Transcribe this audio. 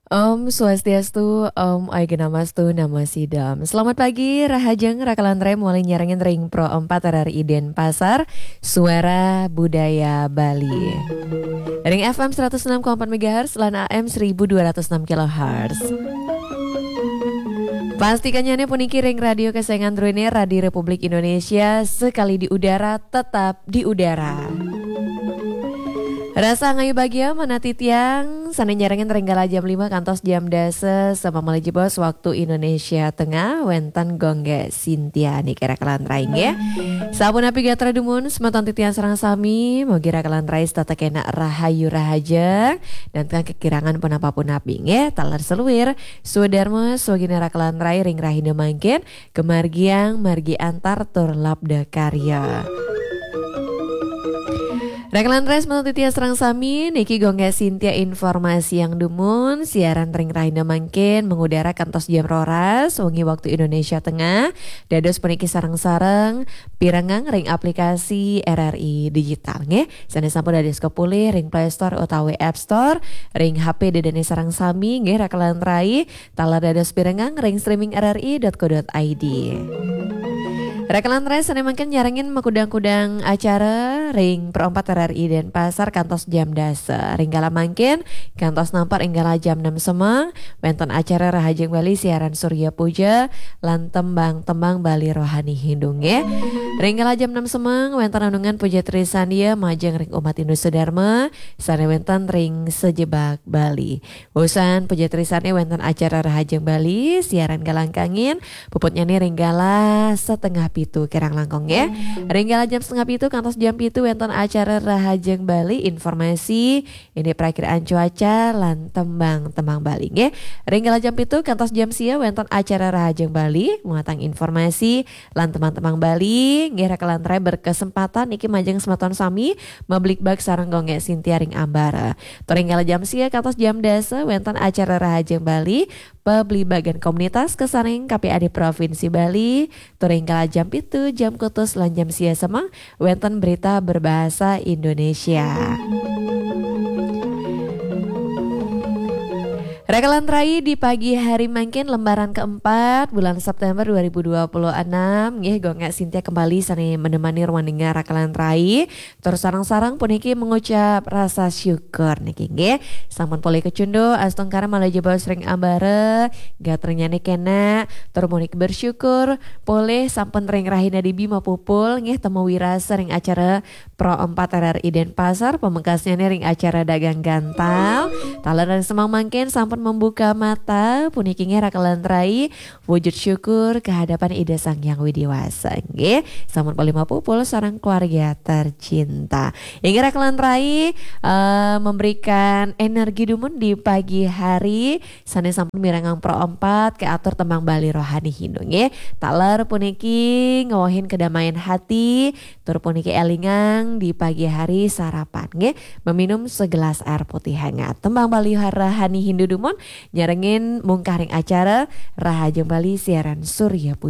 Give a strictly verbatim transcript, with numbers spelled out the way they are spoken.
Om Swastiastu, Om Aigana Mastu Namo Sidam. Selamat pagi, rahajeng Rakalan Rai, malih nyarengin ring Pro empat R R I Denpasar, Suara Budaya Bali. Ring F M seratus enam koma empat megahertz lan A M seribu dua ratus enam kilohertz. Pastikannyané puniki ring radio kesayangan druéné, Radio Republik Indonesia, sekali di udara, tetap di udara. Rasa ngayu bagia manah titiang sané nyarengin ring galah jam lima kantos jam dasa, samalih jebos waktu Indonesia Tengah, wénten Gung Gék Sintia niki Rakalan Rai nggih. Sapunapi gatra dumun semeton titiang sareng sami, mugi Rakalan Rai setata kénak rahayu rahajeng, dan tengah kekirangan punapa-punapi nggih, taler saluir, swadarma, swagina Rakalan Rai ring rahina mangkin, kamargiang margi antar tur labda karya. Rakalan Rai semeton titiang sareng sami, niki Gung Gék Sintia informasiang dumun, siaran ring rahina mangkin mengudara kantos jam roras, wengi waktu Indonesia Tengah, dados puniki sareng-sareng pirengang ring aplikasi R R I Digital nggih, sané sampun dados kapulih ring Play Store utawi App Store, ring H P ida dané sareng sami nggih Rakalan Rai, taler dados pirengang ring streaming R R I dot co dot I D. Rakalan Rai sané mangkin nyarengin makudang-kudang acara ring Pro empat R R I Denpasar kantos jam dasa. Ring galah mangkin kantos nampek ring galah jam enam semeng, wénten acara Rahajeng Bali siaran Surya Puja lan tembang-tembang Bali Rohani Hindu nggih. Ring galah jam enam semeng wénten renungan Puja Trisandya majeng ring umat Hindu sedharma sané wénten ring sajebag Bali. Wusan Puja Trisandya wénten acara Rahajeng Bali, siaran galah kangin, puputnyané ring galah setengah pitu kirang langkung nggih. Ring galah jam setengah pitu kantos jam pitu wénten acara Rahajeng Bali, informasi, indik prakiraan cuaca lan tembang-tembang Bali nggih. Ring galah jam pitu kantos jam sia wénten acara Rahajeng Bali, muatan informasi lan tembang-tembang Bali nggih. Rakalan Rai berkesempatan niki majeng semeton sami mabligbagan sareng Gung Gék Sintia ring ambara. Tur ring galah jam sia kantos jam dasa wénten acara Rahajeng Bali, pabligbagan komunitas kasarengin K P A D Provinsi Bali. Tur ring galah jam pitu, jam kutus lan jam sia semeng wénten berita berbahasa Indonesia. Rakalan Rai di pagi hari mangkin lembaran keempat bulan September dua ribu dua puluh enam nggih, Gung Gék Sintia kembali sané menemani ruang dengar Rakalan Rai. Tur sareng-sareng puniki mengucap rasa syukur niki nggih. Sampun polih kacunduk, astungkara malih jebos ring ambara, gatrannyané kénak, tur puniki bersyukur polih sampun ring rahina dibi mapupul nggih, temu wirasa ring acara Pro empat R R I Denpasar, pamekasnyané ring acara Dagang Gantal. Taler ring semeng mangkin sampun membuka mata, puniki nggih Rakalan Rai, wujud syukur kehadapan Ida Sang Hyang Widhi Wasa nggih. Sampun polih mapupul sareng keluarga tercinta. Inggih Rakalan Rai, eh, memberikan energi dumun di pagi hari, sané sampun mirengang Pro empat, katur tembang Bali Rohani Hindu nggih. Taler puniki ngawehin kedamaian hati, tur puniki élingang di pagi hari sarapan nggih, meminum segelas air putih hangat. Tembang Bali Rohani Hindu dumun nyarengin mungkah ring acara Rahajeng Bali siaran Surya Puja.